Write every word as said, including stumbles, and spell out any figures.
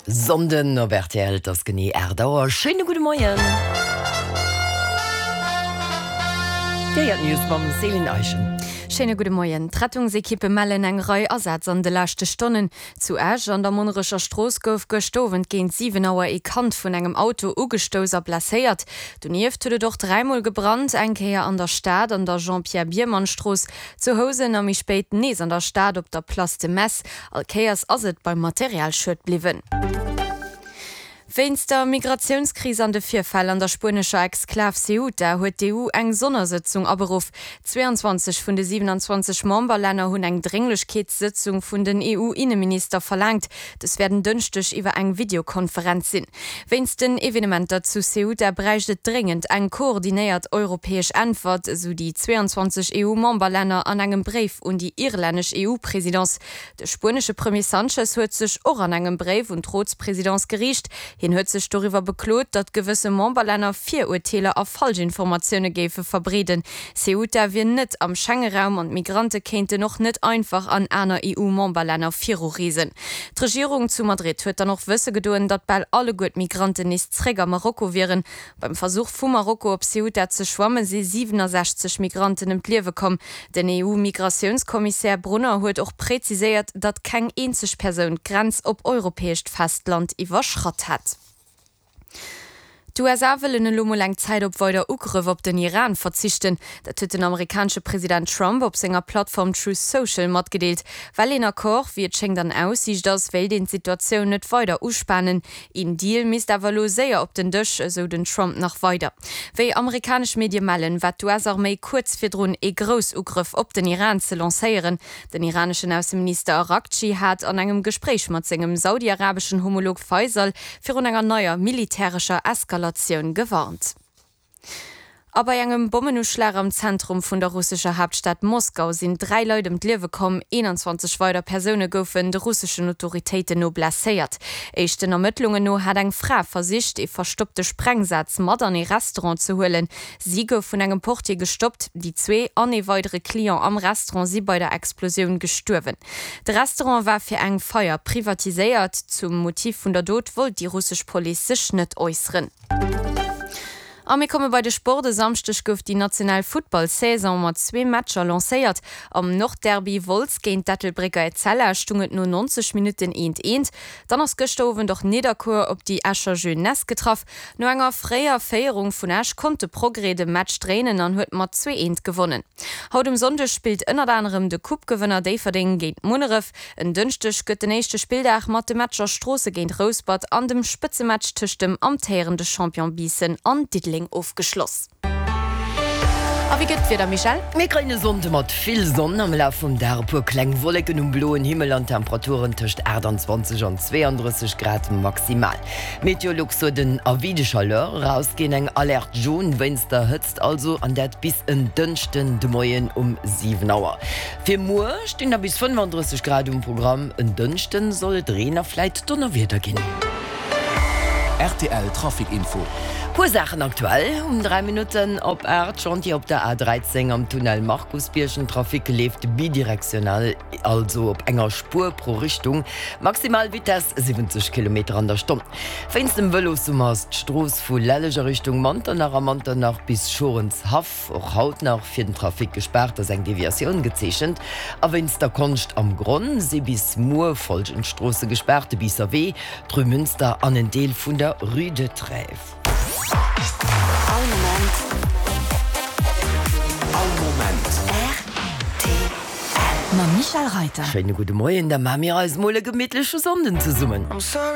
Sonnden op rtl, et ass genee aacht Auer. Schéine gudde Moien. Déi héiert News mam Céline Eischen. Schéine gudde Moien. D'Rettungsekippe mellen eng Rei Asätz an de leschte Stonnen. Zu Esch an der Monnerecher Strooss gouf gëscht Owend géint siwen Auer ee Kand vun engem Auto ugestouss a blesséiert. Donieft huet et och dräimol gebrannt, eng Kéier an der Stad an der Jean-Pierre Biermann-Strooss, zu Housen a méi spéit nees an der Stad op der Place de Metz. All Kéiers ass et beim Materialschued bliwwen. Wéinst der Migratiounskris an de Virfäll an der spuenescher Exklav Ceuta huet d'EU eng Sonnersëtzung aberuff. zweiundzwanzeg vun de siwenanzwanzeg Memberlänner hunn eng Drénglechkeetssëtzung vun den EU-Inneminister verlaangt. Dës wäert en Dënschdeg iwwer eng Videokonferenz sinn. Wéinst den Evenementer zu Ceuta bräicht et dréngend eng koordinéiert europäesch Äntwert, esou déi zweiundzwanzeg EU-Memberlänner an engem Bréif un déi irlännesch EU-Presidence. De spuenesche Premier Sanchez huet sech och an engem Bréif un d'Rotspresidence geriicht. Hien huet sech doriwwer beklot, datt gewësse Memberlänner Virurteeler a Falschinformatioune géife verbreeden. Ceuta wier net am Schengeraum an d'Migrante kéinten och net einfach an aner EU-Memberlänner virureesen. D'Regierung zu Madrid huet dann och wësse gedoen, datt bal alleguer d'Migranten nees zréck a Marokko wieren. Beim Versuch vu Marokko op Ceuta ze schwamme si siwenasechzeg Migranten ëm d'Liewe komm. Den EU-Migratiounskommissär Brunner huet och präziséiert, datt keng eenzeg Persoun d'Grenz op europäescht Festland iwwerschratt hätt. D'USA wëllen elo mol eng Zäit op weider Ugrëff op den Iran verzichten. Dat huet den amerikanesche President Trump op senger Plattform Truth Social matgedeelt. Well een Accord, wéi et schéngt, an Aussiicht ass, wéilt een d'Situatioun net weider uspanen. Een Deal misst awer elo séier op den Dësch, esou den Trump nach weider. Wéi amerikanesch Medie mellen, war d'US-Arméi kuerz virdrun, ee Groussugrëff op den Iran ze lancéieren. Den iraneschen Ausseminister Araghchi hat an engem Gespréich mat sengem saudi-arabeschen Homolog Faisal virun enger neier militärescher Eskalatioun gewarnt. A bei engem Bommenuschlag am Zentrum vun der russescher Haaptstad Moskau sinn dräi Leit ëm d'Liewe komm, eenanzwanzeg weider Persoune goufen de russeschen Autoritéiten no blesséiert. Éischten Ermëttlungen no hat eng Fra versicht, ee verstoppte Sprengsaz mat an ee Restaurant ze huelen. Si gouf vun engem Portier gestoppt. Déi zwee an ee weidere Client am Restaurant si bei der Explosioun gestuerwen. De Restaurant war fir eng Feier privatiséiert. Zum Motiv vun der Dot wollt déi russesch Police sech net äusseren. A mir komme bei de Sport, E Samschdeg gouf déi national Futtball-Saison mat zwee Matcher lancéiert. Am Nordderby Wolz géint d'Ettelbrécker Etzella stung et no neunzeg Minutten eent eent. Dann ass gëschter Owend och Nidderkuer op déi Escher Jeunesse getraff. No enger fréier Féierung vun Esch konnt de Progrès de Match dréinen an huet mat zwee eent gewonnen. Haut um Sonndeg spillt ënnert anerem de Coupe-Gewënner Déifferdeng géint Munneref. En Dënschdeg gëtt den éischte Spilldag mat de Matcher Stroosse géint Rouspert an dem Spëtzematch tëscht dem amtéierende Champion Biissen an Diddeleng ofgeschloss. A wéi gëtt d'Wieder, Michèle? Mir kréien e Sonnde mat vill Sonn, am Laf vum Dag e puer kleng Wolleken um bloen Himmel an Temperaturen tëscht achttanzwanzeg an zweeandrësseg Grad maximal. Meteolux huet en Avis de chaleur erausginn, eng Alerte jaune wéinst der Hëtzt also, an dat bis en Dënschden de Moien um siwen Auer. Fir muer stinn da bis fënnefandrësseg Grad um Programm, en Dënschden soll et Reen a vläit Donnerwieder ginn. Rtl Trafic Info. Puer Saachen aktuell um dräi Minutten op aacht, Chantier op der A dräizéng am Tunnel Markusbierg. Den Trafic leeft bidirektional, also op enger Spuer pro Richtung. Maximal Vitess siwwenzeg Kilometer an der Stonn. Wéinst dem Vëlossummer ass d'Strooss vu Lelleg a Richtung Manternach a Manternach bis Schorenshaff och haut nach fir den Trafic gespaart, ass eng Deviatioun gezeechent. A wéinst der Konscht am Gronn si bis muer follgend Stroosse gespaart, de Biisser Wee, d'Rue Münster an en Deel vun der Rue de Trèves. All Moment. All Moment. R T L. Mam Michèle Reiter. Schéine gudde Moien, da maache mir eis mol e gemittleche Sonnden zesummen.